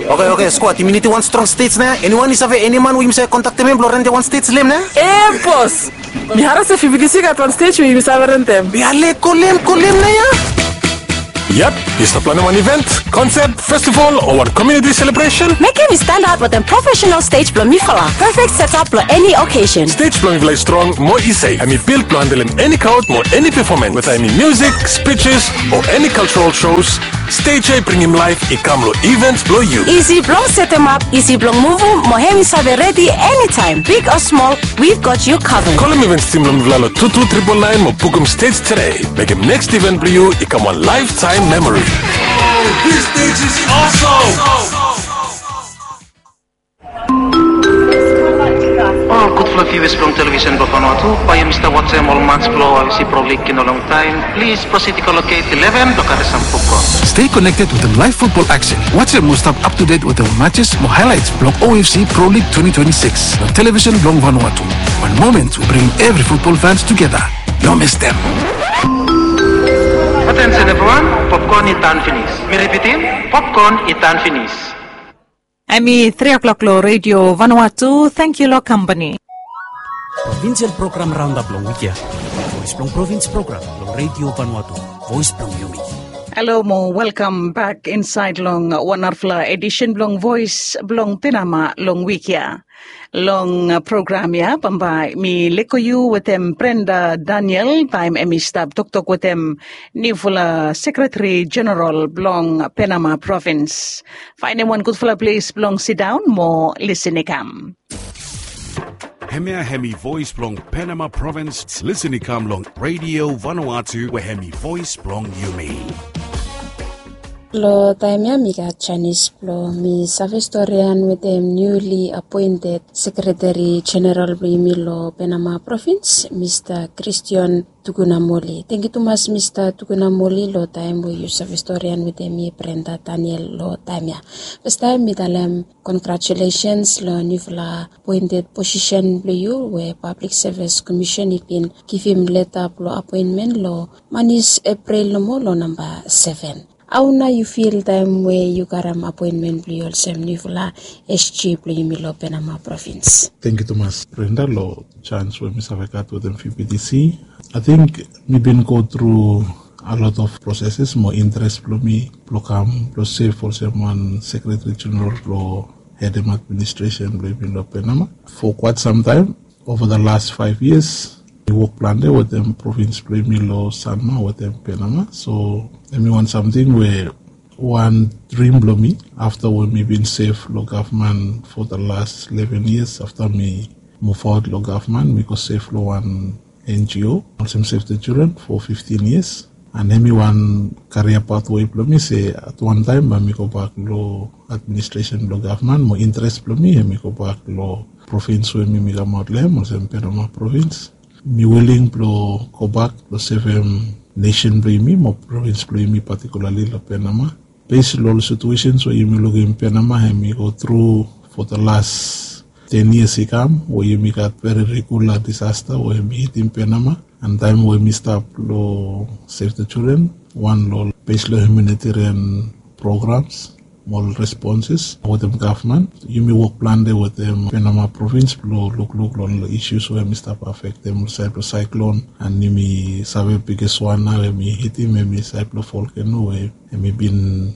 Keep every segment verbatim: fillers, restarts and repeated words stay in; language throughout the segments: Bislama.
Oke, oke, skwad, yumi nidim wan strong stej nao ya. Eniwan i save eni man we yumi save kontaktem hem blong rentim wan stej long hem nao ya? E, bos. Mi harem se F B T C i gat wan stej we yumi save rentim. Ya, lek kolem, kolem nao ya. Yep, yu stap planem wan event, konsep, festival o wan community celebration? Mekem i standaot wetem professional stej blong mifala. Perfect setup blong eni occasion. Stej blong mifala i strong mo i sef. Hem i built blong handlem eni crowd mo eni performance. Whether hem i music, speeches o eni cultural shows, stej ya i bringim laef i kam long event blong yu. Isi blong setemap, isi blong muvum, mo hem i save redi anytime. Big o smol, we've got you covered. Kolem events team blong mifala long two two triple nine mo bukum stej today. Mekem next event blong yu i kam wan lifetime memory. This stage is awesome. Ol gudfala viewers blong television blong Vanuatu, bae yumi stap wajem ol match blong OFC Pro League i no longtaem, plis proceed i go long gate eleven blong karem sam popcorn. Stay connected wetem live football action. Wajem mo stap up to date wetem matches mo highlights blong OFC Pro League twenty twenty-six long television blong Vanuatu. One moment we bring every football fans together. No mistem. Attention everyone, popcorn i tan finis. Mi ripitim, popcorn i tan finis. Hemi tri o'clock long Radio Vanuatu. Thank you long company. Provincial Program Roundup long wik ya. Voice blong Provins Program long Radio Vanuatu. Voice blong yumi. Halo mo welkam bek insaed long wan narafala edisen blong Voice blong Penama long wik ya. Long program ya bambae mi lego yu wetem Brenda Daniel taem hemi stap toktok wetem niufala Sekretari Jeneral blong Penama Provins. Faenem wan gudfala ples blong sidaon mo lisin i kam. Hemia hemi voes blong Penama Provins, lisin i kam long Radio Vanuatu we hemi voes blong yumi. Long taem ya mi gat janis blong mi save storian wetem niuli apoented Sekretari Jeneral blong yumi long Penama Provins, Mista Christian Tukunamoli. Tangkiu tumas Mista Tukunamoli long taem we yu save storian wetem mi Brenda Daniel long taem ya. Fastaem mi talem congratulations long niufala apoented posisen blong yu we Pablik Sevis Komisen i bin givim leta blong apoenmen long manis Epril nomo long namba seven. Hao nao yu fil taem we yu karem apoenmen blong yu olsem niufala S G blong yumi long Penama Provins? Tangkiu tumas Brenda long janis we mi save gat wetem V B T C. Ating mi bin go tru a lot of processes mo interes blong mi blong kam blong sev olsem wan Sekretari Jeneral blong hedem administresen blong yumi long Penama. For quite some time, over the last five years, mi wok plante wetem provins blong yumi long sanma wetem Penama. So hemi wan samting we wan drim blong mi afta we mi bin sev long gavman for the last eleven years. Afta mi muvaot long gavman, mi go sev long wan N G O olsem Save the Children for fifteen years. And hemi wan karia pathway blong mi se at wan taem bae mi gobak long administresen blong gavman. Mo interes blong mi hemi gobak long provins we mi mi kamaot long hem olsem Penama Provins. Mi wiling blong gobak blong sevem nesen blong yumi mo provins blong yumi, patikulali long Penama. Bes long ol situesens we yumi lukim Penama hemi go tru for the last ten years i kam, we yumi gat veri regula disasta we hemi hitim Penama. And taem we mi stap long Save the Children, wan long bes long humanitarian programs mo ol responses wetem gavman, yumi wok plante wetem Penama Provins blong lukluk long ol isus we hemi stap afektem, saed blong saeklon. And yumi save bigeswan nao hemi hitim hemi saed blong volkeno we hemi bin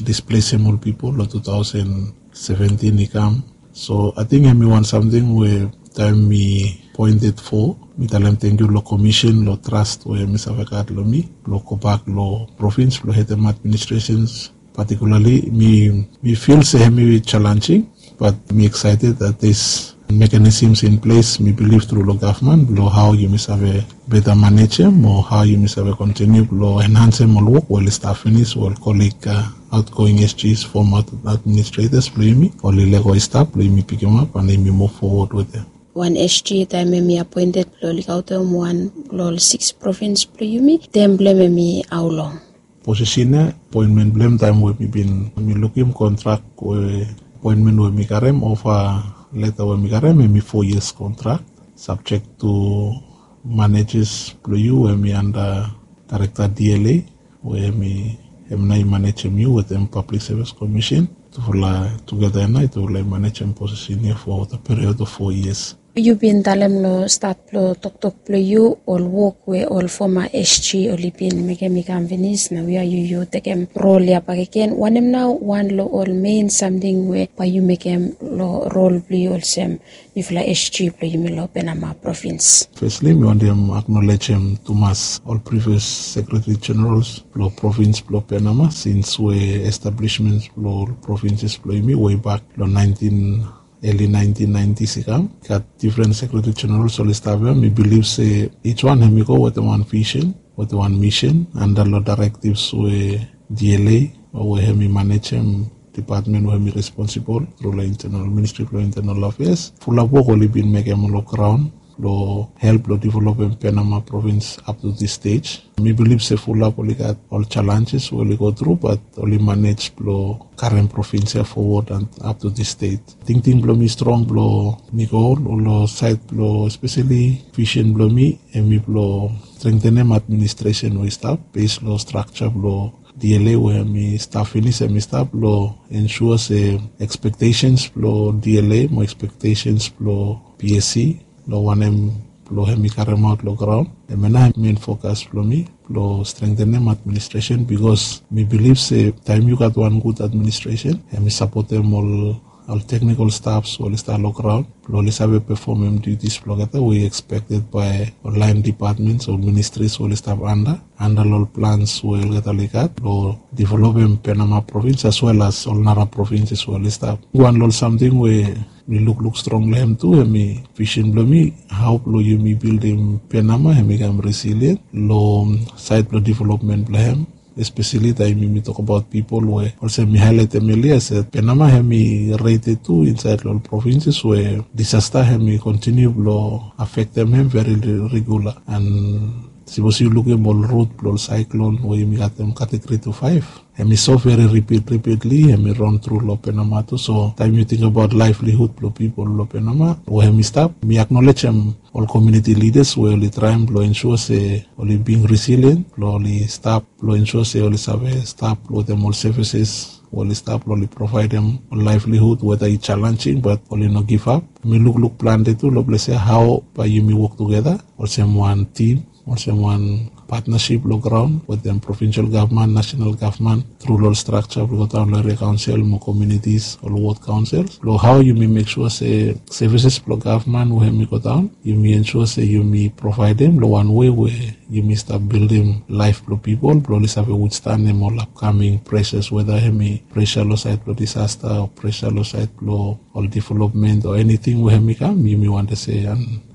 displesem ol pipol long two thousand seventeen i kam. So ating hemi wan samting we taem mi apoented for, mi talem tangkiu long Komisen long tras we hemi save gat long mi blong gobak long provins blong hedem administresens. Patikulali mi, mi fil se hemi jalenjing, bat mi excited that this mechanisms in place. Mi bilif tru long gavman blong hao yumi save beta manejem o hao yumi save kontiniu blong enhansem ol wok we oli stap finis we ol kolig, uh, outgoing S Gs, former administrators blong yumi, oli lego i stap blong yumi pikimap and yumi muv fowod wetem. Wan S G taem hemi apoented blong lukaotem wan long ol sikis provins blong yumi, tem blong hem hemi hao long? Posisen ya, apoenmen blong hem taem we mi bin, mi lukim kontrak we, apoenmen we mi karem, ofa leta we mi karem, hemi fo yias kontrak, subjek tu manejes blong yu we hemi anda daerekta D L A, we hemi, hem nao i manejem yu wetem Pablik Sevis Komisen. tufala tugeta ya nao i tufala i manejem posisen ya for the period of four years. Yu bin talem long stat blong toktok blong yu ol wok we ol foma SG oli bin mekem i kam finis, nao ya yu yu tekem rol ya bakegen. Wanem nao wan long ol mein samting we bae yu mekem long rol blong yu olsem yufala SG blong yumi long Penama provins? Fesli mi wantem aknolejem tumas ol previous sekretari jenerals blong provins blong Penama sins we establishments blong ol provinses blong yumi wei bak long naentin eli naentin naentis i kam. Gat difren sekretari jenerals oli stap ya. Mi bilif se ij wan hem i go wetem wan visen, wetem wan misen anda long daerektivs we DLA o we hem i manejem dipatmen we hem i responsibol tru long internal, ministri blong internal afeas. Fulap wok oli bin mekem long graon blong help long developem Penama provins up to this stage. Mi bilif se fulap oli gat ol jalenjes we oli go tru, bat oli manej blong karem provins ya fowod and up to this stage. Tingting blong mi strong blong mi go long saed blong espeseli visen blong mi hem i blong strengtenem administresen we i stap bes long strakja blong DLA we hem i stap finis, hem i stap blong ensua se ekspektesens blong DLA mo ekspektesens blong PSC long wanem blong hem i karemaot long graon. Hem ya nao hem mein fokas blong mi blong strengtenem administresen, bikos mi bilif se taem yu gat wan gud administresen hem i sapotem ol ol teknikol stafs we oli stap long graon blong oli save pefomem dutis blong olgeta we i ekspekted bae ol laen dipatmens o ministris we oli stap anda anda long ol plans we olgeta oli gat blong developem Penama provins as wel as ol nara provinses we oli stap. Wan long ol samting we mi lukluk strong long hem tu hem i visen blong mi, hao blong yumi bildim Penama hem i kam resilien long saed blong developmen blong hem, espeseli taem yumi tokbaot pipol we olsem mi haeletem elia se Penama hem i reted tu insaed long ol provinses we disasta hem i kontiniu blong afektem hem veri regula. And sipos yu lukim ol rut blong ol saeklon we yumi gatem kategori tu faef, hem i so veri ripit ripitli hem i ron tru long Penama tu. So taem yu tingbaot laevlihud blong pipol long Penama we hem i stap, mi aknolejem ol komuniti lidas we oli traem blong ensua se oli bing resilien blong oli stap blong ensua se oli save stap wetem ol sevises we oli stap blong oli provaedem ol laevlihud weta i jalenjing bat oli no givap. Mi lukluk plante tu long ples ya hao bae yumi wok tugeta olsem wan tim, olsem wan patnasip long graon wetem provinsel gavman, nasenal gavman tru long ol strakja blong godaon long eria kaonsel mo komunitis, ol wod kaonsel blong hao yumi mek sua se sevises blong gavman we hem i godaon yumi ensua se yumi provaedem long wan wei we yumi stap bildim laef blong pipol blong oli save withstanem ol apkaming presas weta hem i presa long saed blong disasta o presa long saed blong ol developmen o eniting we hem i kam. Yumi wantem se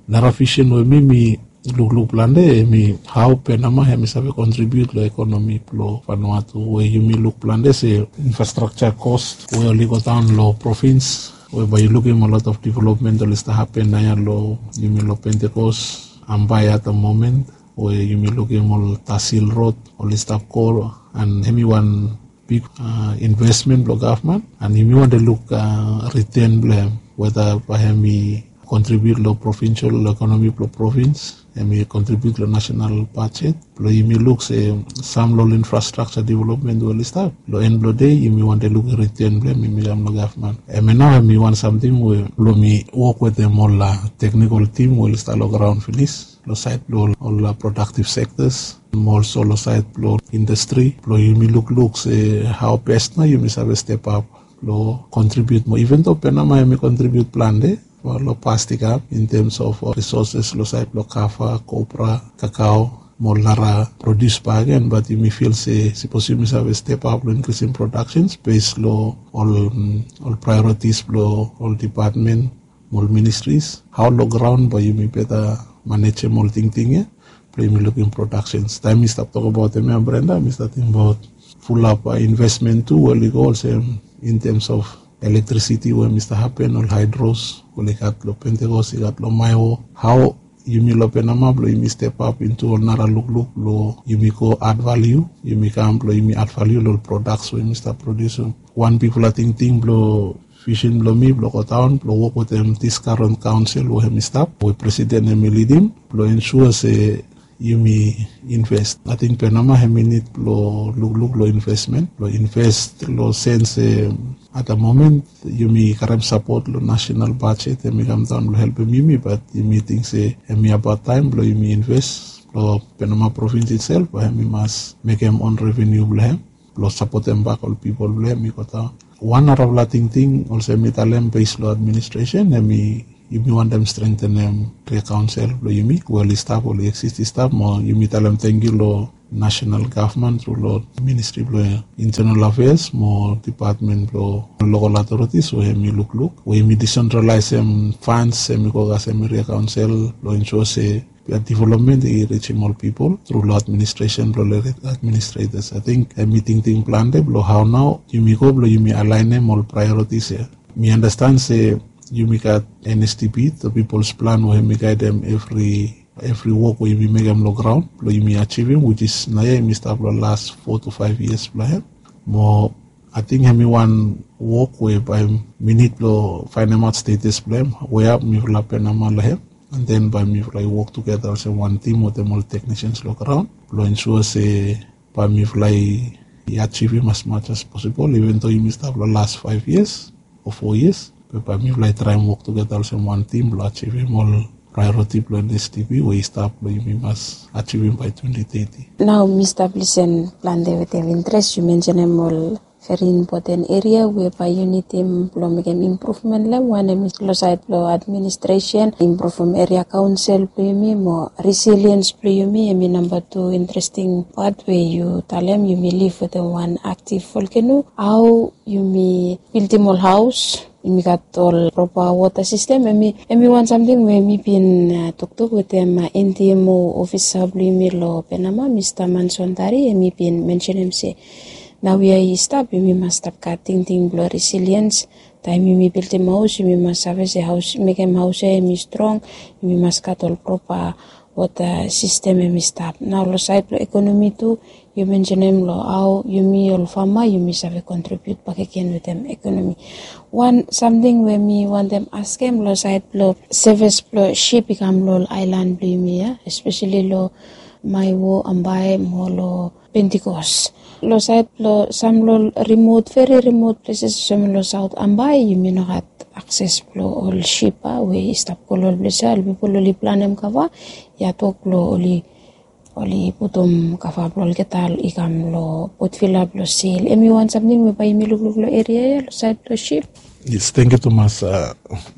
nara visen we mi mi lukluk plante hem i hao Penama hem i save kontribiut long ekonomi blong Vanuatu we yumi luk plante se infrastrakja kos we oli godaon long provins we bae yu lukim a lot of development oli stap hapen naoia long yumi long Pentekos, Ambae at the moment we yumi lukim ol Tasil rod oli stap go and hem i wan big investment blong gavman and yumi wantem luk riten blong hem weta bae hem i kontribiut long provinsel ekonomi blong provins, hem i kontribiut long nasenal bajet blong yumi luk se sam long ol infrastrakja developmen we oli stap long en blong dei yumi wantem luk riten blong hem hem i kam long gavman. Hem ya nao hem i wan samting we blong mi wok wetem ol teknikol tim we oli stap long graon finis long saed blong ol prodaktiv sektas mo olso long saed blong indastri blong yumi lukluk se hao bes nao yumi save stepap blong kontribiut moa. Iven do Penama hem i kontribiut plante long past i kam in tems of risoses long saed blong kava, kopra, kakao mo ol nara produs bakegen, bat yumi fil se sipos yumi save stepap long inkrisim prodaksens bes long ol praeoritis blong ol dipatmen mo ol ministris, hao long graon bae yumi beta manejem ol tingting ya blong yumi lukim prodaksens. Taem mi stap tokbaot hem ya Brenda, mi stap tingbaot fulap investmen tu we oli go olsem in tems of elektrisiti we mi stap hapen, ol haedros we oli gat long Pentekos, i gat long Maewo. Hao yumi long Penama blong yumi stepap intu ol nara lukluk blong yumi go ad valiu, yumi kam blong yumi ad valiu long ol prodaks we yumi stap prodiusim. Wan bigfala tingting blong visen blong mi blong godaon blong wok wetem dis karen kaonsel we hem i stap we presiden hem i lidim blong ensua se yumi inves. Ating Penama hem i nid blong lukluk long investmen blong inves long sens se At the moment yumi karem sapot long national budget, em i kamdaun blong helpem yumi, bat yumi ting se em i abaot taem blong yumi inves blong Penama provins itsel, bat em i mas mekem on revenu blong em blong sapotem bak ol pipol blong em i go daun. Wan narafala tingting olsem mi talem bes long administresen, em i yumi wantem strengtenem area kaonsel blong yumi we oli stap, oli eksis i stap, mo yumi talem tangkiu long national gavman tru long ministri blong internal afeas mo dipatmen blong lokal authorities we em i lukluk we yumi disentralaesem fans em i go kasem area kaonsel blong ensua se development i rijim ol pipol tru long administresen blong ol administrators. Ating em i tingting plante blong hao nao yumi go blong yumi alaenem ol priorities ya. Mi andastan se yumi gat NSDP, the People's Plan, we em i gaedem evri evri wok we yumi mekem long graon blong yumi ajivim, which is naoia yumi stap long las four to five years blong hem. Mo ating em i wan wok we bae mi nid blong faenemaot status blong hem, we ap mifala Penama long hem, and then bae mifala i wok tugeta olsem wan tim wetem ol teknisians long graon blong ensua se bae mifala i ajivim as much as possible, even though yumi stap long las five years o four years, be bae mifala i traem wok tugeta olsem wan tim blong ajivim ol priority blong NSDP we i stap blong yumi mas ajivim bae twenty thirty. Nao mi stap lisen plante wetem interes yu mensenem ol veri impoten eria we bae yu nidim blong mekem impruvmen long hem. Wan em i long saed blong administresen, impruvem eria kaonsel blong yumi mo resiliens blong yumi, em i namba tu interesting pat we yu talem yumi liv wetem wan aktiv volkeno. Hao yumi bildim ol haos, yumi gat ol propa wota sistem, em i wan samting we mi bin toktok wetem NDMO ofisa blong yumi long Penama, Mista Manson Tari, em i bin mensenem se naoia i stap yumi mas stap gat tingting blong resiliens. Taem yumi bildim haos yumi mas save se haos, mekem haos ya em i strong, yumi mas gat ol propa wota sistem em i stap. Nao long saed blong ekonomi tu, yu mensenem long hao yumi ol fama yumi save kontribiut bakegen wetem ekonomi. Wan samting we mi wantem askem long saed blong sevis blong sip i kam long ol aelan blong yumi ya, espeseli long Maewo, Ambae mo long Pentikos. Long saed blong sam long ol rimot, veri rimot pleses olsem long Saot Ambae yumi no gat akses blong ol sip a we i stap go long ol ples ya. Ol pipol oli planem kava, ya tok blong oli oli putum kava blong olgeta i kam long Port Vila blong sel. Em i wan samting we bae yumi lukluk long eria ya long saed blong sip. Yes, tangkiu tumas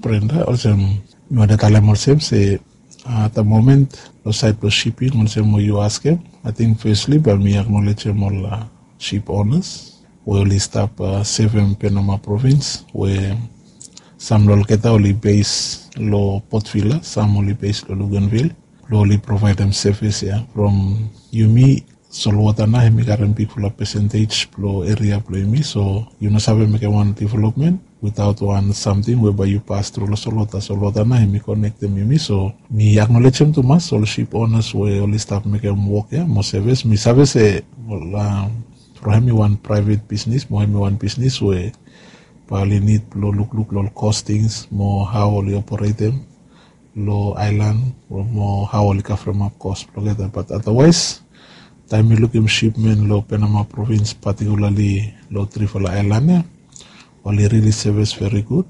Brenda. Olsem mi wantem talem olsem se at the moment long saed blong siping olsem we yu askem, ating fesli bae mi aknolejem ol sip onas we oli stap sevem Penama provins we sam long olgeta oli bes long Port Vila, sam oli bes long Luganville, blong oli provaedem sevis ya from yumi. Solwota nao hem i karem bigfala pesentej blong eria blong yumi, so yu no save mekem wan developmen witaot wan samting we bae yu pas tru long solwota. Solwota nao hem i konektem yumi, so mi aknolejem tumas ol sip onas we oli stap mekem wok ya mo sevis. Mi save se from hem i wan praevet bisnis mo hem i wan bisnis we bae oli nid blong lukluk long ol kostings mo hao oli operetem long aelan mo hao oli kavremap kos blong olgeta. Bat adawaes taem mi lukim sipmen long Penama provins patikulali long trifala aelan ya, oli rili sevis veri gud.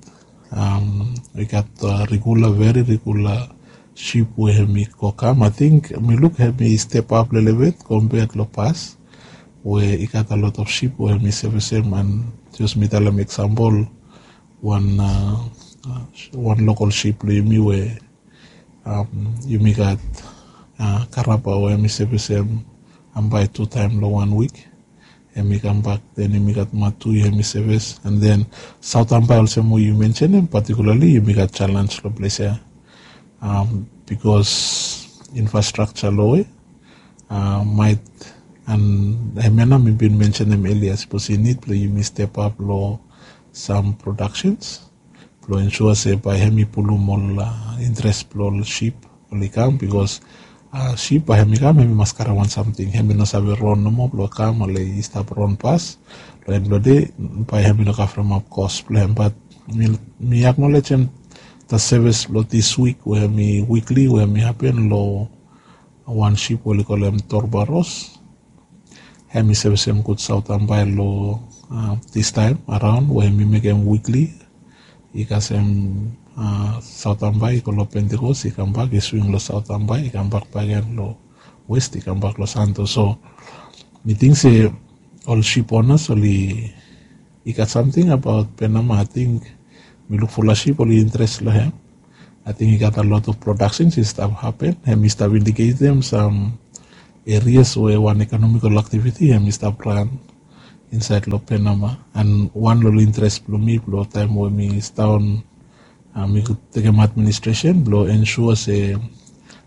I gat regula, veri regula sip we hem i go kam. Ating mi luk hem i stepap lelebet kompea long pas we i gat a lot of sip we hem i sevisem. And jos mi talem eksampol, wan wan lokal sip blong yumi we yumi gat Karaba we hem i sevisem Ambae tu taem long wan wik. Hem i kambak, then yumi gat Matui hem i sevis, and then Saot Ambae olsem we yu mensenem patikulali yumi gat jalens long ples ya bikos infrastrakja lowe. Maet and hemia nao mi bin mensenem elia, sapos i nid blong yumi stepap long sam prodaksens blong ensua se bae hem i pulum ol interes blong ol sip oli kam, bikos sip bae hem i kam hem i mas karem wan samting. Hem i no save ron nomo blong kam oli stap ron pas. Long en blong dei bae hem i no kavremap kos blong hem. Bat mi aknolejem the sevis blong dis wik we hem i wikli we hem i hapen long wan sip we oli kolem Torbaros. Hem i sevisem gud Saot Ambae long Distaem araon we mi mekem wikli, i kasem Saot Ambae i go long Pentikos, i kambak i swing long Saot Ambae, i kambak bakegen long West, i kambak long Santo. So mi ting se ol sip onas oli i gat samting abaot Penama. Ating mi luk fulap sip oli interes long hem. Ating i gat a lot of productions i stap hapen. Hem i stap indiketem sam erias we wan ekonomikal aktiviti hem i stap ran insaed long Penama. An wan long interes blong mi blong taem we mi staon mi tekem administresen blong ensua se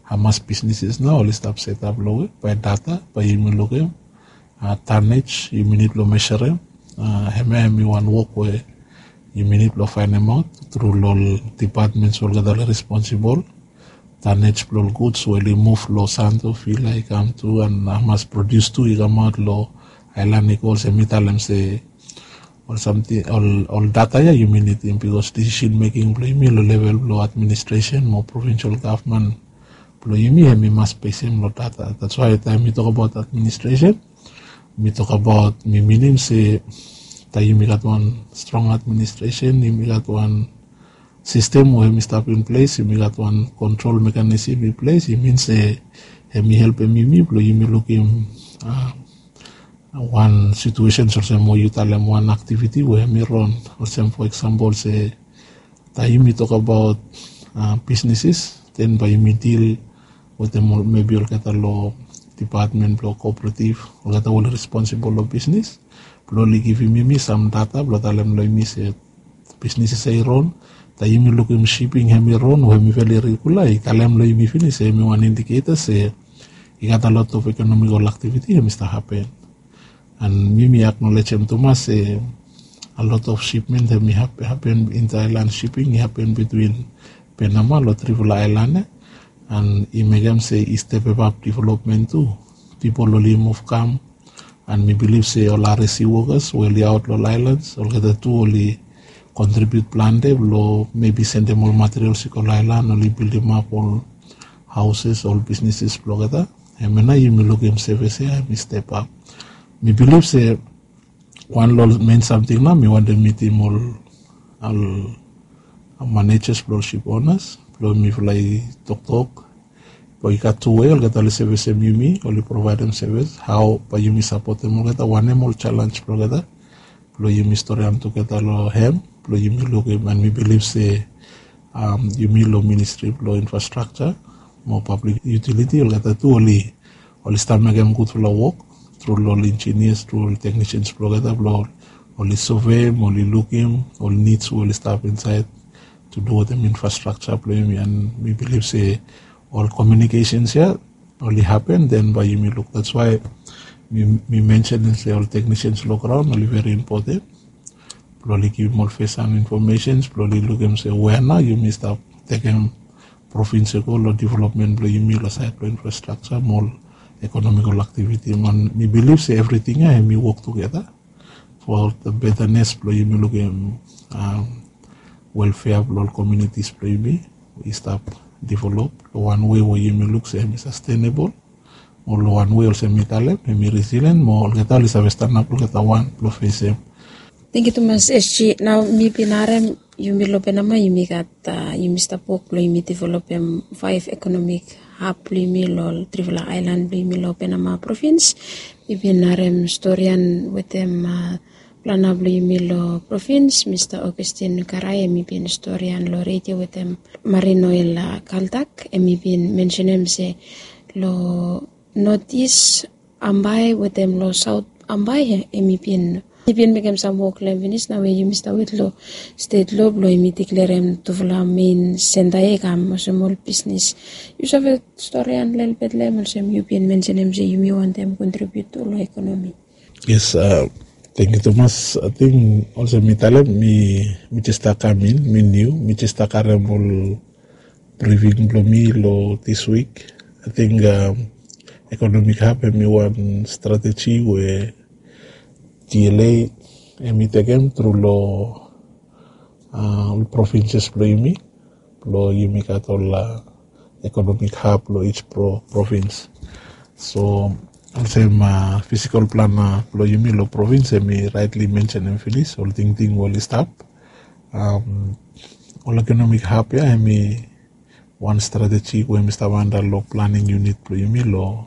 hamas bisneses nao oli stap setap long we bae data bae yumi lukim tanej yumi nid blong meserem. Hemia hem i wan wok we yumi nid blong faenemaot tru long ol dipatmens we olgeta oli responsibol. Tanej blong ol guds we oli muv long Santo, Vila i kam tu, an hamas produs tu i kamaot long aelan i go olsem mi talem se ol samting ol data ya yumi nidim bikos decision making blong yumi long level blong administresen mo provinsal gavman blong yumi hem i mas besem long data. That's why taem mi tokabaot administresen mi tokabaot mi minim se taem yumi gat wan strong administresen, yumi gat wan sistem we hem i stap in ples, yumi gat wan kontrol mekanism in ples, i min se hem i helpem yumi blong yumi lukim wan situesen olsem we yu talem wan aktiviti we hem i ron. Olsem fo eksampol se taem yumi tokabaot bisneses, den bae yumi dil wetem ol mebi olgeta long dipatmen blong kooperativ, olgeta we oli responsibol long bisnes blong oli givim yumi sam data blong talem long yumi se bisneses ya i ron. Taem yumi lukim siping hem i ron we hem i veli regula, i talem long yumi finis se hem i wan indiketa se i gat a lot of ekonomikal aktiviti hem i stap hapen. An mi mi aknolejem tumas se a lot of sipmen hem i hapen, intaelan siping i hapen bitwin Penama long trifala aelan ya. An i mekem se i stepepap developmen tu. Pipol oli muv kam an mi bilif se ol R S C wokas we oli aot long ol aelans olgeta tu oli kontribiut plante blong mebi sendem ol materials i go long aelan oli bildimap ol haoses, ol bisneses blong olgeta. Hemia nao yumi lukim sevis ya hem i stepap. Mi bilif se wan long ol men samting nao mi wantem mitim ol manejas blong ol sip onas blong mifala i toktok blong i gat tu wei olgeta oli sevisem yumi, oli provaedem sevis, hao bae yumi sapotem olgeta, wanem ol jalenj blong olgeta blong yumi storiaon tugeta long hem blong yumi lukim. An mi bilif se yumi long ministri blong infrastrakja mo pablik yutiliti olgeta tu oli oli stap mekem gudfala wok tru long ol injinias, tru ol teknisians blong olgeta blong oli sove mo oli lukim ol nids we oli stap insaed tu du wetem infrastrakja blong yumi. An mi bilif se ol komiunikesens ya oli hapen, den bae yumi luk. That's why mi mensenem se ol teknisians long graon oli veri impoten blong oli givim ol fes han infomesens blong oli lukim se wea nao yumi stap tekem provins i go long developmen blong yumi long saed blong infrastrakja mo ol ekonomikal aktiviti. Mi bilif se evriting ya hem i wok tugeta fo the betanes blong yumi lukim welfea blong ol komiunitis blong yumi i stap develop long wan wei we yumi luk se hem i sastenebol mo long wan wei olsem mi talem hem i resilien mo olgeta oli save stanap olgeta wan blong fesem. Tangkiu tumas, S G. Nao mi bin harem yumi long Penama yumi gat yumi stap wok blong yumi developem faef ekonomik hab blong yumi long trifala aelan blong yumi long Penama provins. Mi bin harem storian wetem plana blong yumi long provins, Mista Augustin Karai, hem i bin storian long redio wetem Marine Oil Kaltak, hem i bin mensenem se long North East Ambae wetem long Saot Ambae, hem i bin i bin mekem sam wok long hem finis. Nao we yumi stap wet long stet lo blong yumi diklerem tufala mein senta ya i kam olsem ol bisnes. Yu save storian lelebet long hem olsem yu bin mensenem se yumi wantem kontribiut tu long ekonomi. Yes, tangkiu tumas. Ating olsem mi talem mi jes stap kam in, mi niu, mi jes stap karem ol briving blong mi long dis wik. Ating ekonomik hab hem i wan strateji we T L A hem i tekem tru long ol provinses blong yumi blong yumi gat ol ekonomik hab long each provins. So Olsem fisikol plan blong yumi long provins em i raitli mensenem finis ol tingting we oli stap. Ol ekonomik hab ya em i wan strateji we em i stap anda long planing unit blong yumi long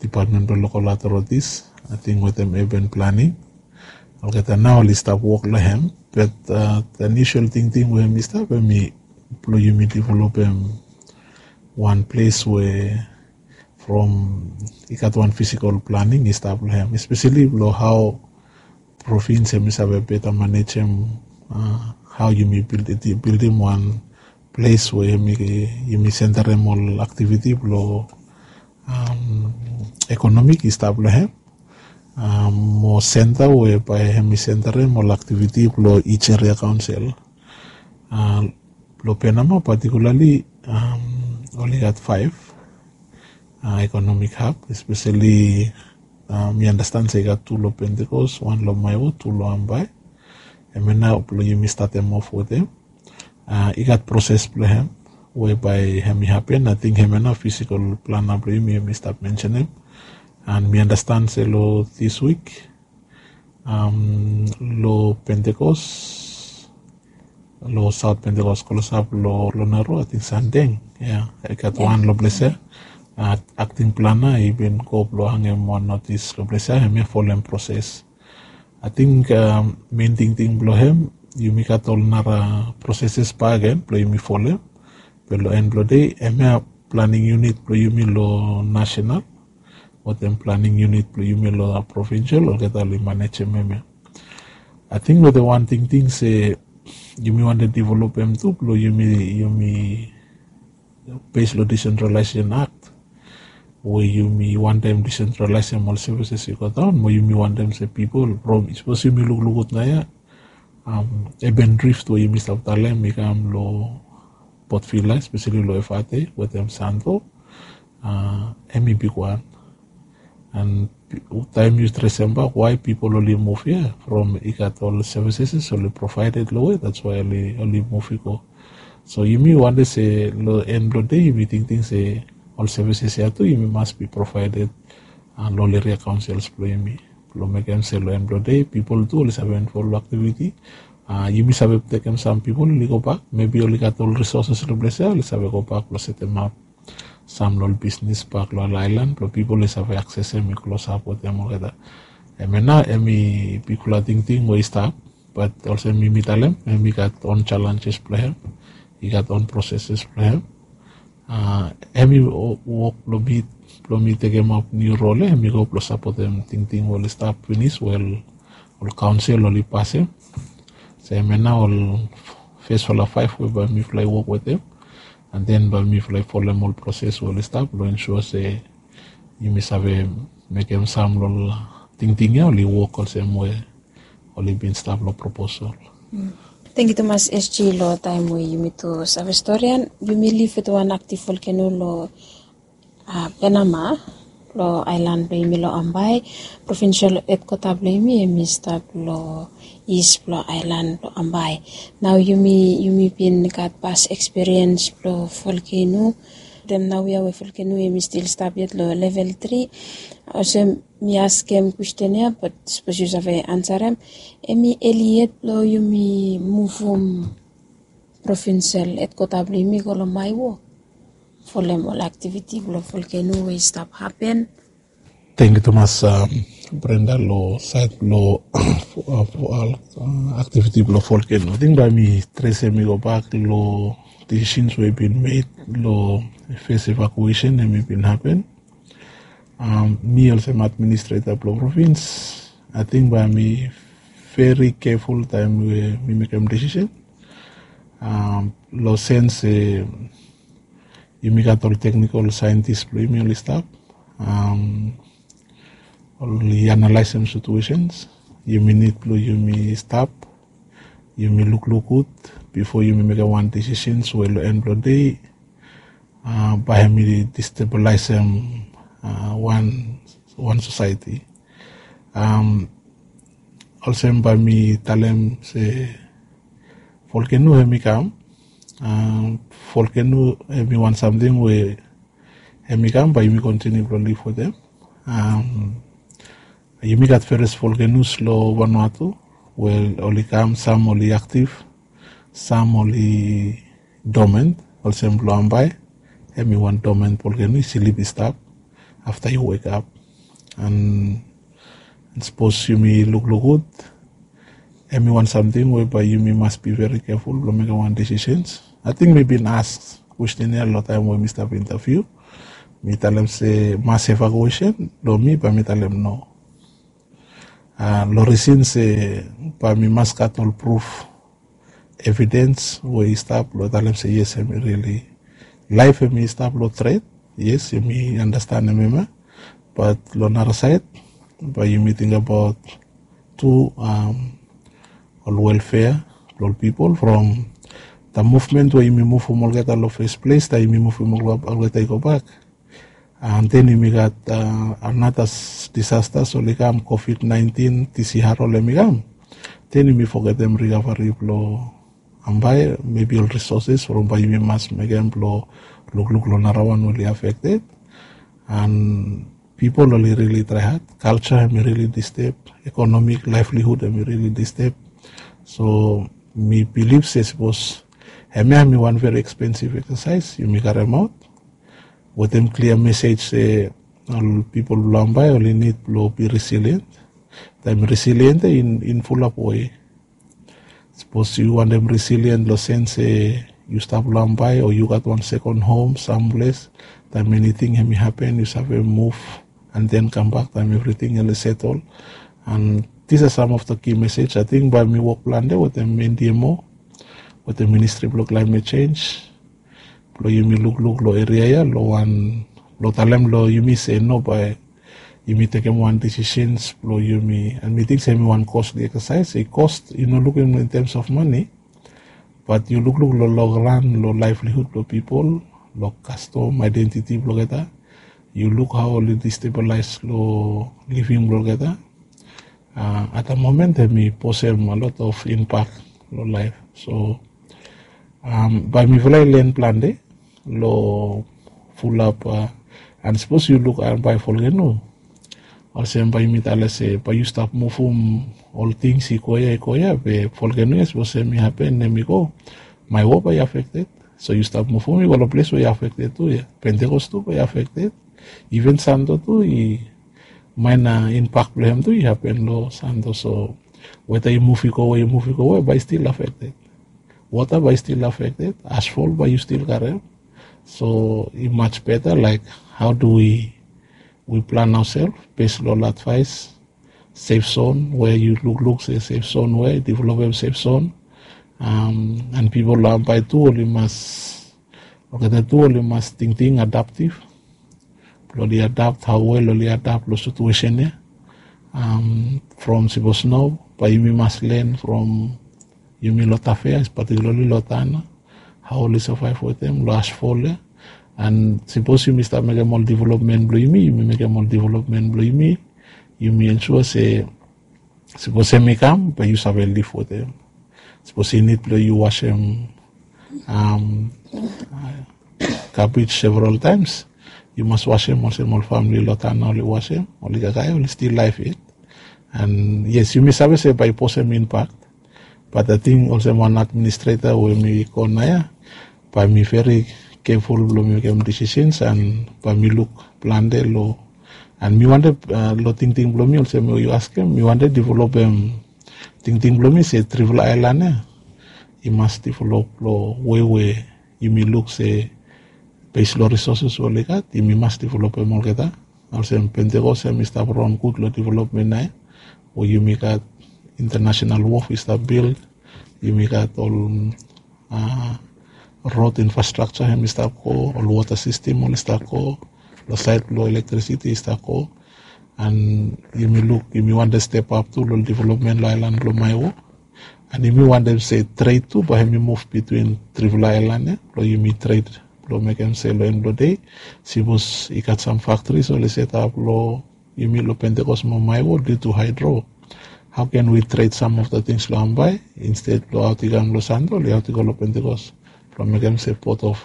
dipatmen blong lokal authorities, ating wetem urban planning. Olgeta nao oli stap wok long hem, but the initial tingting we em i stap em i blong yumi developem wan ples we from i gat wan fisikol planing i stap long hem, espeseli blong hao provins em i save beta manejem hao yumi bildim wan ples we yumi sentarem ol aktiviti blong ekonomik i stap long hem. Mo senta we bae hem i sentarem ol aktiviti blong each area kaonsel. Blong Penama patikulali oli gat faef ekonomik hab, espeseli mi andastan se i gat tu long Pentekos, wan long Maewo, tu long Ambae. Hemia nao blong yumi statem of wetem. I gat proses blong hem we bae hem i hapen. Ating hemia nao fisikol plana blong yumi hem i stap mensenem. An mi andastan se long dis wik long Pentekos, long Saot Pentekos klosap long Naro, ating Sandeng ya, i gat wan long ples ya. Akting plana i bin go blong hangem wan notis long ples ya, hemia folem proses. Ating mein tingting blong hem yumi gat ol nara proseses bakegen blong yumi folem. Be long en blong dei hemia planing unit blong yumi long nasenal wetem planing unit blong yumi long provinsel olgeta oli manejem hemia. Ating wetem wan tingting se yumi wantem developem tu blong yumi, yumi bes long Decentralization Act we yumi wantem decentralizem ol services i go daon, mo yumi wantem se pipol from, sapos yumi lukluk gud naoia, urban drift we yumi stap talem i kam long Port Vila, espeseli long Efate wetem Santo, em i bigwan. An taem yu tresem bak wae pipol oli muv ya from i gat ol services oli provaeded long we, that's why oli muv i go. So yumi wantem se long en blong dei yumi tingting se ol services ya tu yumi mas bi provaeded long ol eria kaonsels blong yumi, blong mekem se long en blong dei pipol tu oli save invol long aktiviti. Yumi save tekem sam pipol oli gobak, mebi oli gat ol risoses long ples ya oli save gobak blong setemap sam long ol bisnis bak long ol aelan blong pipol i save aksesem i klosap wetem olgeta. Hemia nao em i bigfala tingting we i stap, bat olsem mi mi talem em i gat on challenges blong hem, i gat on proseses blong hem. Em i wok blong mi, blong mi tekemap niu rol ya, em i go blong sapotem tingting we oli stap finis we ol kaonsel oli pasem. So hemia nao ol fesfala faef we bae mifala i wok wetem, an den bae mifala i folem ol proses we oli stap blong ensua se yumi save mekem sam long ol tingting ya oli wok olsem we oli bin stap long proposal. Tangkiu tumas SG long taem we yumi tu save storian. Yumi liv wetem wan aktiv volkeno long Penama, long aelan blong yumi long Ambae. Provinsel hedkwata blong yumi em i stap long is blong aelan blong Ambae. Nao yumi, yumi bin gat pas ekspiriens blong volkeno. Dem naoia we volkeno em i stil stap yet long level tri. Olsem mi askem kwesten ya, bat sapos yu save ansarem, em i eli yet blong yumi muvum provinsel hedkwata blong yumi go long Maewo folem ol aktiviti blong volkeno we i stap hapen? Tangkiu tumas Brenda, long saed blong aktiviti blong volkeno, ating bae mi tresem i gobak long disisens we i bin med long fes evakuesen em i bin hapen. Mi olsem administreta blong provins, ating bae mi veri keful taem we mi mekem disisen. Long sens se yumi gat ol teknikol saentis blong yumi oli stap, oli analaesem situesens. Yumi nid blong yumi stap, yumi lukluk gud bifo yumi mekem wan disisens we long en blong dei bae hem i destabilisem wan, wan sosaeti. Olsem bae mi talem se volkeno hem i kam. Volkeno hem i wan samting we hem i kam, bae yumi kontiniu blong liv wetem. Yumi gat various volcanoes lo Vanuatu. Wel, oli kam, sam oli active, sam oli dormant. Olsem blo Ambae, hemi wan dormant volcano, i slip i stap afta i wake up. And sapos yumi lukluk gud, hemi wan samting we bae yumi mas be very careful blo mekem wan decisions. Ating mi bin ask question ya lo taem we mi stap interview. Mi talem se mass evacuation, lo mi bae mi talem no. Lo reason se bae mi mas gat ol proof, evidence we i stap lo talem se yes, hemi really, laef hemi stap lo threat. Yes, yumi understand hemia. But lo nara saed, bae yumi tingbaot tu ol welfare blo ol pipol from the movement we yumi muvum olgeta lo first place, taem yumi muvum olgeta i gobak. And then yumi gat anata disasters oli kam, COVID nineteen, T C R, ol hemi kam. Then yumi fogetem recovery blo Ambae, maybe ol resources from bae yumi mas mekem blo lukluk lo nara wan we oli affected. And pipol oli really try hard. Culture hemi really disturb, economic livelihood hemi really disturb. So mi bilif se sapos hemia hemi wan very expensive exercise, yumi karemaot wetem clear message se ol pipol blo Ambae oli nid blo be resilient. Taem resilient ya in fulap wei. Sapos yu wantem resilient lo sense se yu stap lo Ambae o yu gat wan second home samples, taem eniting hemi hapen yu save muv and then kambak taem evriting oli settle. And these are some of the key message. Ating bae mi wok plante wetem N D M O, wetem Ministry blo Climate Change, blo yumi lukluk lo eria ya lo wan, blo talem lo yumi se no, bae yumi tekem wan decisions blo yumi. And mi ting se hemi wan costly exercise. I cost, yu no lukim in terms of money, but yu lukluk lo long run lo livelihood blo pipol, lo custom, identity blo olgeta. Yu luk hao oli destabilize lo living blo olgeta. At the moment hemi posem a lot of impact lo laef. So bae mifala i len plante lo fulap. And sapos yu luk Ambae volcano, olsem bae yumi talem se bae yu stap muvum ol tings i go ya, i go ya, be volcano ya sapos hemi hapen, hemi go, Maewo bae i affected. So yu stap muvum i go lo ples we i affected tu ya. Pentecost tu bae i affected. Even Santo tu i, minor impact blo hem tu i hapen lo Santo. So weta i muv i go we, i muv i go we, bae i still affected. Wota bae i still affected. Asfol bae yu still karem. So i much better, like, how do we, we plan ourselves based lo ol advice, safe zone, we yu lukluk se safe zone, we developem safe zone. And pipol lo Ambae tu oli mas, olgeta tu oli mas tingting adaptive. Oli adapt, hao wel oli adapt lo situation ya. From sapos no, bae yumi mas len from yumi lo Tafea, particularly lo Tana, hao oli survive wetem lo asfol ya. And sapos yumi stap mekem ol development blo yumi, yumi mekem ol development blo yumi, yumi ensure se sapos hemi kam, bae yu save liv wetem. Sapos i nid blo yu wasem garbage several times, yu mas wasem olsem ol famili lo Tana oli wasem, oli kakae, oli still laef yet. And yes, yumi save se bae i posem impact, but ating olsem wan administrator we mi go naoia, bae mi very careful blo mi mekem decisions and bae mi luk plante lo. And mi wantem, lo tingting blo mi, olsem we yu askem, mi wantem developem tingting blo mi se trifala aelan ya i mas develop lo wei we yumi luk se base lo resources we oli gat, yumi mas developem olgeta. Olsem Pentecost hemi stap ran gud lo development naoia, we yumi gat international wharf i stap build, yumi gat ol road infrastructure hemi stap go, ol water system oli stap go, lo saed blo electricity i stap go. And yumi luk, yumi wantem step up tu lo development lo aelan blo Maewo. And yumi wantem se trade tu bae hemi muv between trifala aelan ya, blo yumi trade blo mekem se lo en blo dei, sapos i gat sam factories oli set up lo yumi lo Pentecost mo Maewo due to hydro, how can we trade some of the things lo Ambae instead blo aot i kam lo Santo, oli aot i go lo Pentecost blo mekem se port of.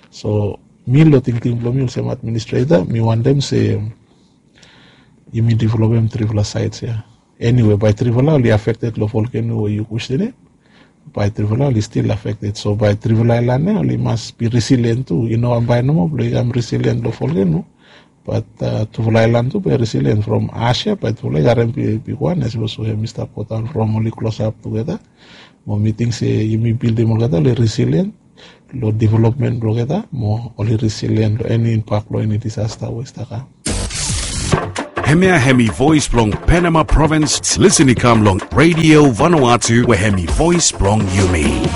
So mi lo tingting blo mi olsem administrator, mi wantem se yumi developem trifala sait ya. Eniwe, bae trifala oli afekted long volkeno we yu kwestenem, bae trifala oli stil afekted. So bae trifala ailan ya oli mas bi resilient tu. I no wan bae nomo blong i kam resilient long volkeno, bat tufala ailan tu bae resilient. From ash ya bae tufala i harem bigwan, as we saw hem i stap go daon from oli klosap tugeta. Mo mi ting se yumi bildim olgeta oli resilient long development blong olgeta, mo oli resilient long eni impak blong eni disasta we i stap kam. Hemia hemi voes blong Penama Provins. Lisen i kam long Radio Vanuatu we hemi voes blong yumi.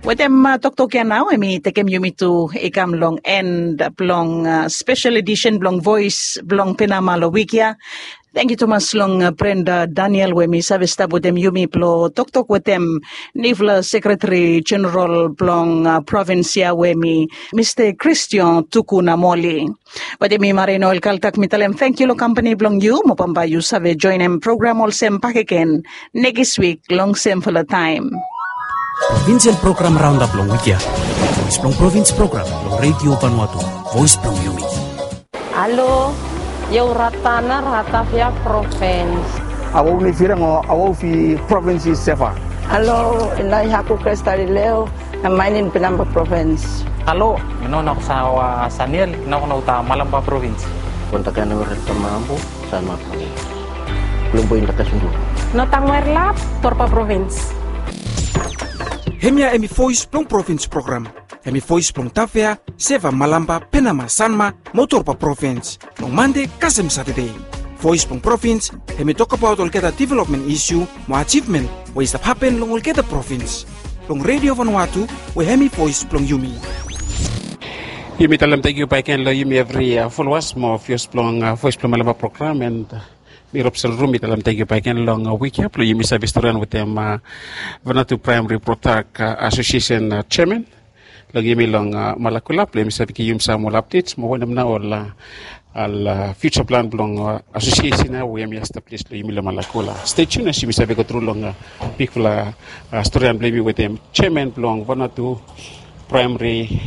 Wetem toktok ya nao, hemi tekem yumi tu i kam long en blong spesel edisen blong Voes blong Penama long wik ya. Tangkiu tumas long Brenda Daniel we hemi save stap wetem yumi blong toktok wetem niufala sekretari jeneral blong provins ya we hemi Mista Christian Tukunamoli. Bat yumi marin ol kaltak mi talem tangkiu long kampani blong yu, mo bambae yu save joenem program olsem bakegen nekis wik long semfala taem. Provinsel program raondap long wik ya. Voes blong provins program long Radio Vanuatu, voes blong yumi. Alo, io Ratana, Ratavia Provins. Awau ni firang o awau fi provins i Seva. Alo, inai haku Kristalileo, na mainin Penama Provins. Alo, mi no na kusa wa Saniel, na kuna uta Malamba Provins. Kontak ena wer tama ambu, Sanma Provins. Belum boin takas undu. No tang wer lap, Torpa Provins. Hemia hemi voes blong provins program. Hemi voes blong Tavea, Seva, Malamba, Penama, Sanma, mo Torpa Provins. Long Mande kasem Satade. Voes blong provins hemi tokbaot olgeta developmen isiu mo ajivmen we i stap hapen long olgeta provins. Long Radio Vanuatu we hemi voes blong yumi. Yumi talem tangkiu bakegen long yumi evri folowas mo vios blong voes blong Malamba program, and mi Robson Rum, mi talem tangkiu bakegen long wik ya blong yumi save storian wetem Vanuatu Praemari Protak Asosiesen jeaman long yumi long Malakula blong yumi save givim yumi sam ol apdets mo wanem nao ol ol fiuja plan blong asosiesen ya we yumi establis long yumi long Malakula. Stay tuned as yumi save go tru long bigfala storian blong yumi wetem jeaman blong Vanuatu Praemari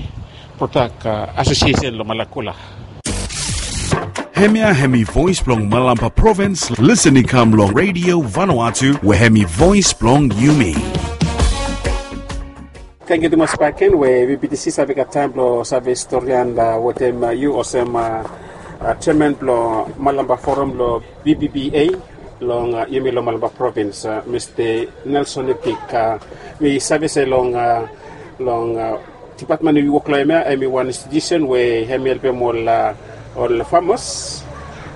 Protak Asosiesen long Malakula. Hemia hemi voes blong Malamba Provins. Lisen i kam long Radio Vanuatu we hemi voes blong yumi. Tangkiu tumas bakegen we VBTC save gat taem blong save storian wetem yu olsem jeaman blong Malamba Forum long VBBA long yumi long Malamba Provins, Mista Nelson Epik. Mi save se long long dipatmen we yu wok long hem ya hemi wan institusen we hemi helpem ol ol famas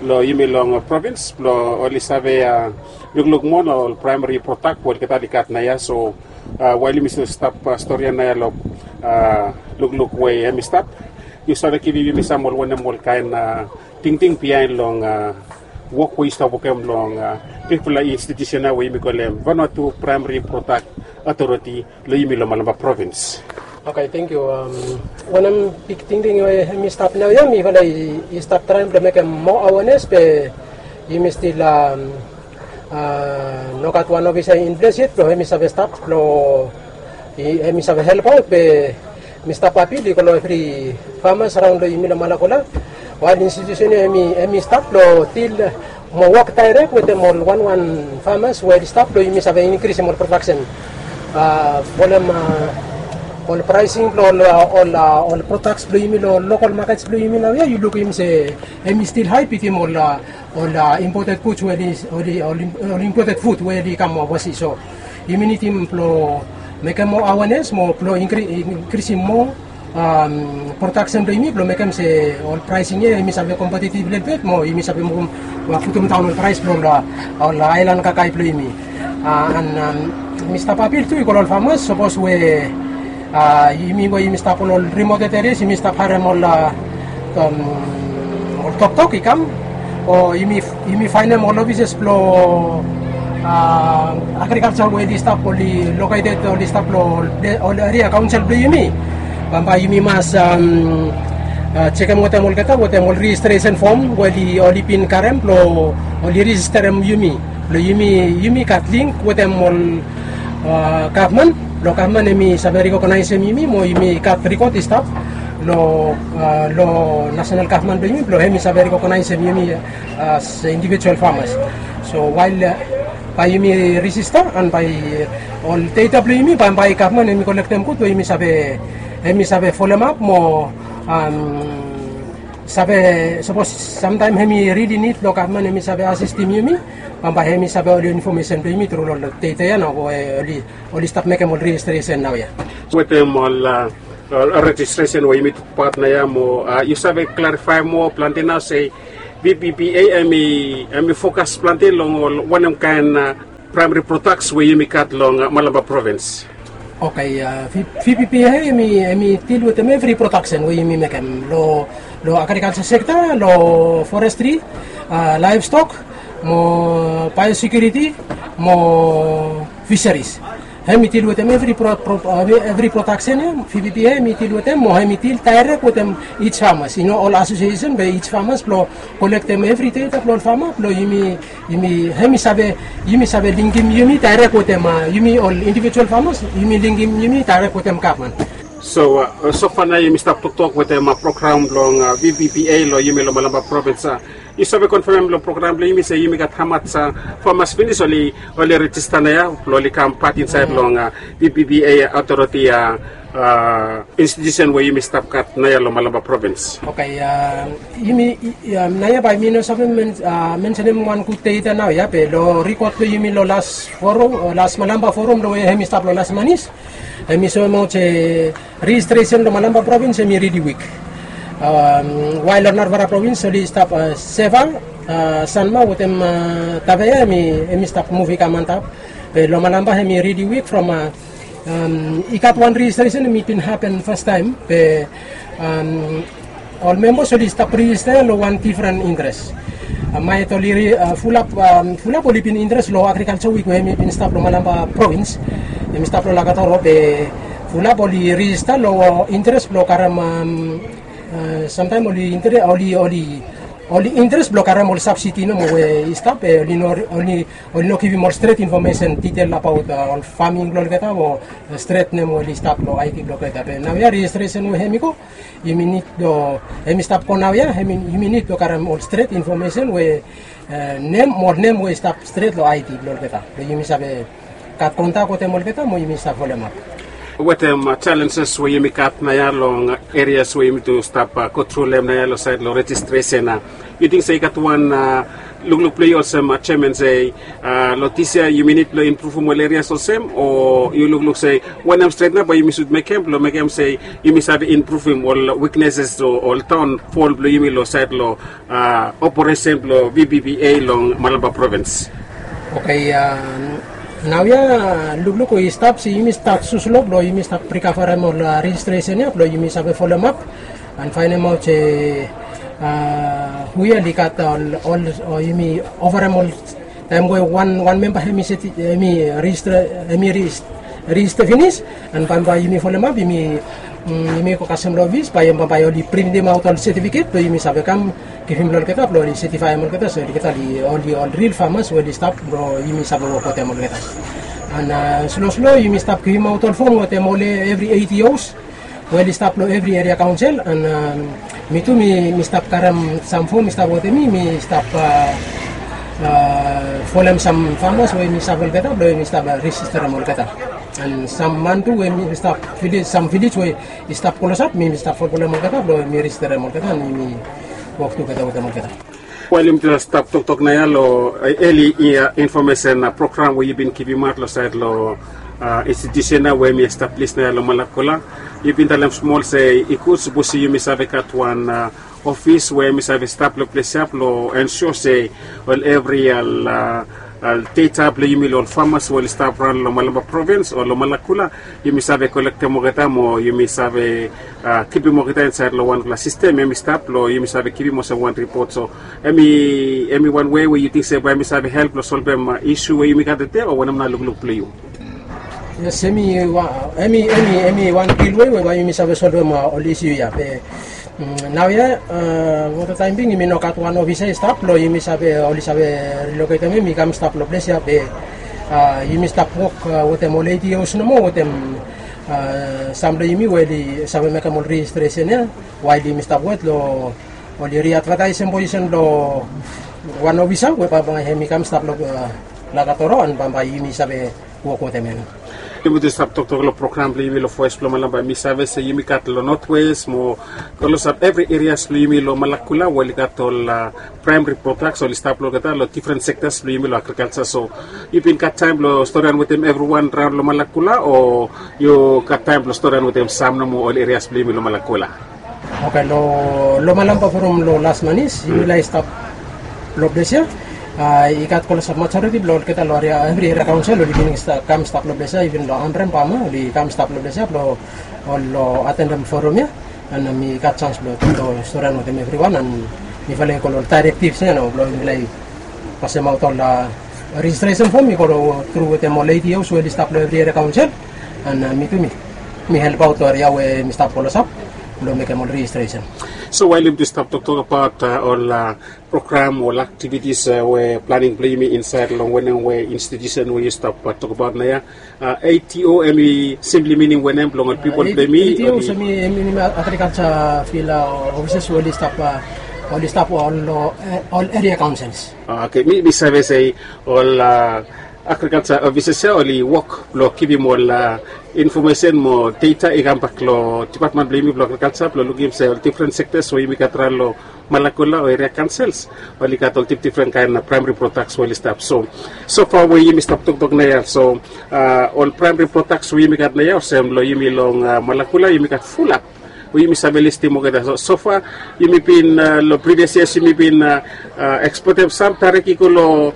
long yumi long provins blong oli save lukluk moa long ol praemari prodak we olgeta oli gat naoia. So wael yumi stap storian naoia long lukluk we hemi stap, yu save givim yumi sam ol wanem ol kaen tingting biaen long wok we yu stap wokem long bigfala institusen ya we yumi kolem Vanuatu Praemari Prodak Otoriti long yumi long Malamba Provins. Oke, tangkiu. Wanem big tingting we hemi stap naoia, mifala i stap traem blong mekem moa awenes be yumi stil nogat wan ofisa in ples yet blong hemi save stap blong hemi save helpaot be Mista Papil i go long evri famas raon long yumi long Malakula. Wael institusen ya hemi stap long dil mo wok daerek wetem ol wanwan famas we oli stap blong yumi save inkrisim ol prodaksen. Folem ol praesing blong ol prodaks blong yumi long lokal makets blong yumi naoia, yu lukim se hemi stil hae bitim ol ol imported fud we oli ol imported fud we oli kam ovasi. So yumi nidim blong mekem moa awenes mo blong inkrisim moa prodaksen blong yumi blong mekem se ol praesing ya yumi save kompetitiv lelebet mo yumi save putum daon ol praes blong ol aelan kakae blong yumi. An Mista Papil tu i go long ol famas, sapos we yumi we yumi stap long ol rimoted erias yumi stap harem ol ol toktok i kam, o yumi faenem ol ofises blong agrikalja we oli stap, oli loketed, oli stap long ol eria kaonsel blong yumi. Bambae yumi mas jekem wetem olgeta wetem ol rejistresen fom we oli bin karem blong oli rejisterem yumi blong yumi gat link wetem ol gavman blong gavman hemi save rekognaesem yumi mo yumi gat rekod i stap Lo, a, lo national gavman blo yumi blo hemi save rekognaesem yumi as individual famas. So wael, a, bae yumi rejista an bae ol data blo yumi bambae gavman hemi kolektem gud we yumi save, hemi save folemap mo, am, save sapos samtaem hemi rili nid lo gavman hemi save asistem yumi, bambae hemi save ol infomesen blo yumi tru lo data ya nao we oli, oli stap mekem ol rejistresen naoia. Wetem ol, a, ol rejistresen we yumi tokbaot naoia mo, a, yu save klarifaem moa plante nao se V P P A hemi, hemi fokas plante long ol wanem kaen, a, praemari prodaks we yumi gat long, a, Malampa provins? Oke, a, V-, V P P A hemi, hemi dil wetem evri prodaksen we yumi mekem lo, lo agrikalja sekta, lo forestri, a, laevstok, mo biosekuriti, mo fisaris. Hemi dil wetem evri pro-, pro-, a, evri prodaksen ya, V P P A hemi dil wetem, mo hemi dil daerek wetem ij famas. I no ol asosiesen be ij famas blo kolektem evri data blo ol fama blo yumi, yumi, hemi save, yumi save linkem yumi daerek wetem, a, yumi ol individual famas, yumi linkem yumi daerek wetem gavman. So, a, sofa nao yumi stap toktok wetem, a, program blong, a, V P P A lo yumi lo Malampa provins, a, yu save konfamem lo program blo yumi se yumi gat hamas, a, famas finis oli, oli rejista naoia blo oli kam pat insaed long, a, V P P A otoriti, a, a, institusen we yumi stap gat naoia lo Malampa provins? Oke, a, yumi, i, a, naoia bae mi no save men-, a, mensenem wan gud data naoia be lo rikot blo yumi lo las forum, o las Malampa forum lo we hemi stap lo las manis, hemi soemaot se rejistresen lo Malampa provins hemi rili wik. Am, wael lo narafala provins oli stap, a, Seva, a, Sanma wetem, a, Tafea hemi, hemi stap muv i kam antap. Be lo Malampa hemi rili wik from, a, am, i gat wan rejistresen hemi bin hapen fastaem be, am, ol membas oli stap rejista lo wan difren interes. A, maet oli ri-, a, fulap, am, fulap oli bin interes lo agrikalja wik we hemi bin stap lo Malampa provins, hemi stap lo Lakatoro be fulap oli rejista lo interes blo karem, am, a, samtaem oli intere-, oli, oli, oli interes blo karem ol sabsidi nomo we i stap, e, oli no, oli, oli no givim ol stret infomesen ditel abaot, a, ol faming blo olgeta o, a, stret nem we oli stap lo ID blo olgeta. Be naoia rejistresen we hemi go, yumi nid lo, hemi stap go naoia, hemi, yumi nid lo karem ol stret infomesen we, e, nem, mo nem we i stap stret lo ID blo olgeta. Be yumi save gat kontak wetem olgeta mo yumi save folemap. Wetem, a, jalenjes we yumi gat naoia long erias we yumi tu stap, a, go tru long hem naoia lo saed lo rejistresen, a, yu ting se i gat wan, a, lukluk blo yu olsem, a, jeaman se, a, lo dis yia yumi nid blo impruvum ol erias olsem, o yu lukluk se wanem stret nao bae yumi sud mekem blo mekem se yumi save impruvum ol wikneses o ol daonfol blo yumi lo saed lo, a, operesen blo V P P A long Malampa provins? Oke, a, naoia lukluk we i stap se yumi stap sus lo blo yumi stap rikavarem ol, a, rejistresen ya blo yumi save folemap an faenemaot se, a, hu ya oli gat ol, ol, o yumi ovarem ol taem we wan, wan memba hemi seti-, hemi rejista, hemi rejis-, rejista finis, an bambae yumi folemap, yumi, mm, yumi go kasem lo ofis, bae bambae oli printemaot ol setifiket blo yumi save kam givim lo olgeta blo oli setifaem olgeta se olgeta oli, oli ol ril famas we oli stap blo yumi save wok wetem olgeta. An, a, sloslo yumi stap givimaot ol fom wetem ol evri A D Os we oli stap lo evri eria kaonsel, an, am, mi tu mi, mi stap karem sam fom i stap wetem mi, mi stap, a, a, folem sam famas we mi save olgeta blo mi stap, a, rejisterem olgeta. An sam man tu we mi stap vilej, sam vilej we i stap klosap, mi, mi stap folfolem olgeta blo mi rejisterem olgeta, an mi wok tugeta wetem olgeta. Wael yumi tu stap toktok naoia lo, e, eli, e, infomesen, a, program we yu bin givimaot lo saed lo, a, institusen ya we hemi establis naoia lo Malakula, yu bin talem smol se i gud sapos yumi save gat wan, a, ofis we hemi save stap lo ples ya blo ensua se ol evri, a, a, data blo yumi lo ol famas we oli stap raon lo Malampa provins o lo Malakula, yumi save kolektem olgeta mo yumi save, a, kipim olgeta insaed lo wanfala sistem, hemi stap lo yumi save kipim olsem wan ripot. So hemi, hemi wan wei we yu ting se bae hemi save help lo solvem, a, isu we yumi gat tede, o wanem nao lukluk blo yu? Yes, hemi wa-, hemi, hemi, hemi wan gud wei we bae yumi save solvem, a, ol isu ya. Be, mm, naoia, a, wota taem bing yumi no gat wan ofisa i stap blo yumi save, oli save riloketem hem i kam stap lo ples ya be, a, yumi stap wok, a, wetem ol A D Os nomo wetem Sam blong yumi we oli save mekem ol rejistresen ya, wael yumi stap wet long oli riadvataesem posisen blong wan ofisa we bambae hem i kam stap long Lakatoro, an bambae yumi save wok wetem hem. Yumi tu stap toktok long program blong yumi long Voes blong Malampa. Mi save se yumi gat long Notwes mo klosap evri erias blong yumi long Malakula we oli gat ol praemari prodaks oli stap long olgeta long difren sektas blong yumi long agrikalsa. So yu bin gat taem blong storian wetem evriwan raon long Malakula, o yu gat taem blong storian wetem sam nomo ol erias blong yumi long Malakula? Oke, long Malampa from long las manis yumi lae stap long ples ya. I gat klosap majoriti blong olgeta long evri eria kaonsel oli bin kam stap long ples ya, iven long Ambrem Pama oli kam stap long ples ya blong ol long atendem forum ya. An mi gat sans blong toktok storian wetem evriwan, an mifala i go long ol daerektivs ya nao blong mifala i pasemaot ol rejistresen fom i go tru wetem ol eitios we oli stap long evri eria kaonsel. An mi tu mi helpaot long eria we mi stap klosap blong mekem ol rejistresen. So wael yumi tu stap toktok abaot ol program o ol aktivitis we planing blong yumi insaed long wanem we institusen we yu stap tokbaot naoia? A, A T O hem i simpli minim wanem blong ol pipol blong yumi? A T O hem i minim agrikalsa fil ofisas we oli stap, oli stap ol eria kaonsels. Oke, mi save se ol agrikalsa ofisas ya oli wok blong givim ol infomesen mo data i kambak long dipatmen blong yumi blong agrikalsa blong lukim se ol difren sektas we yumi gat raon long Malakula o eria kaonsels oli gat ol difdifren kaen praemari prodaks we oli stap. So sofa we yumi stap toktok naoia, so ol praemari prodaks we yumi gat naoia olsem long yumi long Malakula yumi gat fulap we yumi save listim olgeta. So sofa yumi bin long privias yias yumi bin ekspotem sam, tarik i go long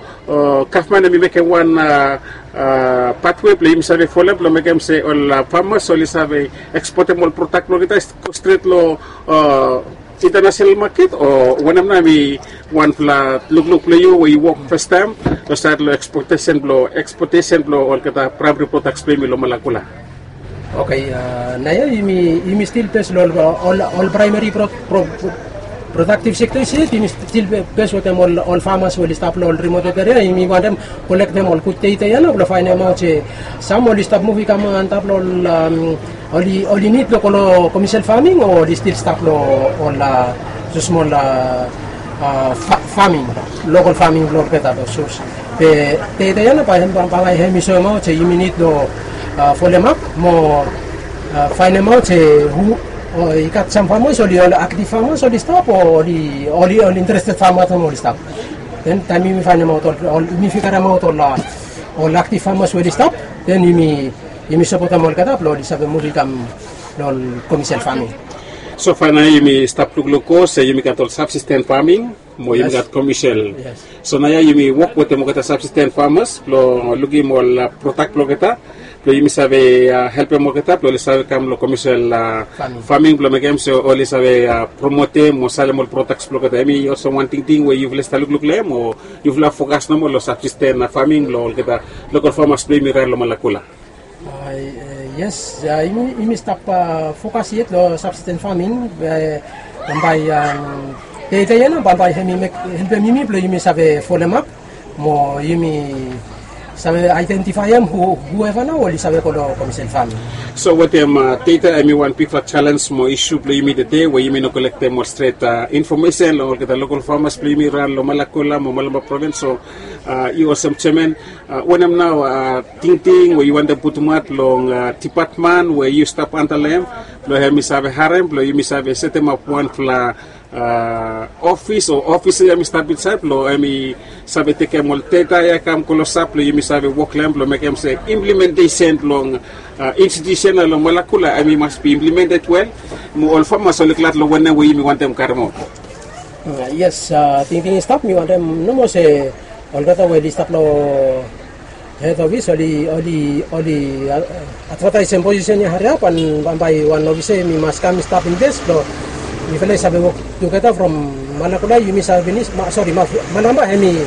gavman hem i mekem wan patwe blong yumi save folem blong mekem se ol famas oli save ekspotem ol prodak blong olgeta i go stret long intanasenal maket, o wanem nao hem i wanfala lukluk blong yu we yu wok fastaem long saed long ekspoten blong ekspoten blong olgeta praemari prodaks blong yumi long Malakula? Oke, naoia yumi stil bes long ol praemari prodaktiv sektas yet, yumi stil bes wetem ol famas we oli stap long ol rimoted eria. Yumi wantem kolektem ol gud data ya nao blong faenemaot se sam oli stap muv i kam antap long ol oli nid blong go long komesel faming o oli stil stap long ol sus smol faming, lokol faming blong olgeta long sus. Be data ya nao bae hem i soemaot se yumi nid long folemap mo faenemaot se hu i gat sam famas oli ol aktiv famas oli stap o oli ol interested famas oli stap. Den taem yumi faenemaot ol yumi figaremaot ol aktiv famas we oli stap, den yumi sapotem olgeta blong oli save muv i kam long ol komesel faming. So faenemaot yumi stap lukluk go se yumi gat ol sabsisten faming mo yumi gat komesel. So naoia yumi wok wetem olgeta sabsisten famas blong lukim ol prodak blong olgeta blong yumi save helpem olgeta blong oli save kam long komesel faming blong mekem se oli save promotem mo salem ol prodaks blong olgeta. Hem i olsem wan tingting we yufala i stap lukluk long hem o yufala fokas nomo long sabsisten faming blong olgeta lokol famas blong yumi raon long Malakula? Yes, yumi stap fokas yet long sabsisten faming. Bambae data ya nao bambae hem i helpem yumi blong yumi save folemap mo yumi save aedentifaem hueva nao oli save go long komesel faming. So wetem data hem i wan bigfala jalens mo isu blong yumi tede we yumi no kolektem ol stret infomesen long olgeta lokol famas blong yumi raon long Malakula mo Malampa provins. So yu olsem jeaman, wanem nao tingting we yu wantem putumaot long dipatmen we yu stap anta long hem blong hem i save harem blong yumi save setemap wanfala ofis o ofis ya hem i stap insaed blong hem i save tekem ol data ya i kam klosap blong yumi save wok long hem blong mekem se implementesen blong institusen ya long Malakula hem i mas bi implemented wel mo ol famas oli glad long wanem we yumi wantem karemaot? Yes, tingting i stap, mi wantem nomo se olgeta we oli stap long hed ofis oli oli advataesem posisen ya hariap, an bambae wan ofisa hem i mas kam i stap in ples blong mifala i save wok tugeta from Malakula yumi save pinis, sori, Malampa hem i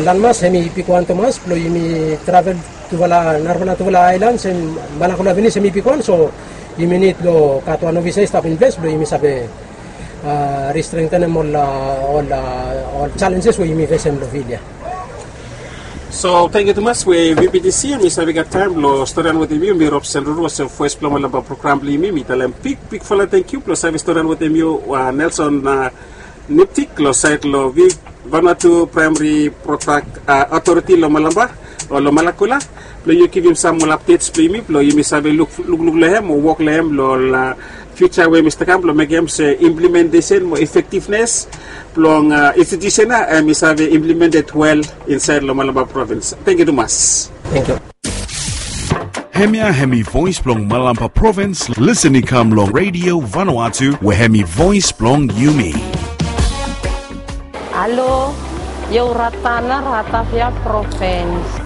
lanmas hem i bigwan tumas blong yumi travel tufala narafala tufala aelans, hem Malakula pinis hem i bigwan. So yumi nid long gat wan ofisa i stap in ples blong yumi save ristrengtenem ol ol jalenjes we yumi fesem long fil ya. So tangkiu tumas we vptc em i save gat taem blong storian wetem yu mi robson ruru olsem voes blong malaba program blong yumi mi talem big bigfala tangkiu blong save storian wetem yu. Nelson niptik long saed long vip vanatu praemari protak otoriti long malaba o long malakula blong yu givim sam ol apdets blong yumi blong yumi save lukluk long hem o wok long hem long ol fiuja we mi stap kam blong mekem se implementesen mo efektivnes blong institusen ya em i save implemented wel insaed long malaba provins. Tangkiu tumas. Hemia hemi voes blong malaba provins. Lisen i kam long redio vanuatu we hemi voes blong yumi. Alo, io ratana ratafia provins.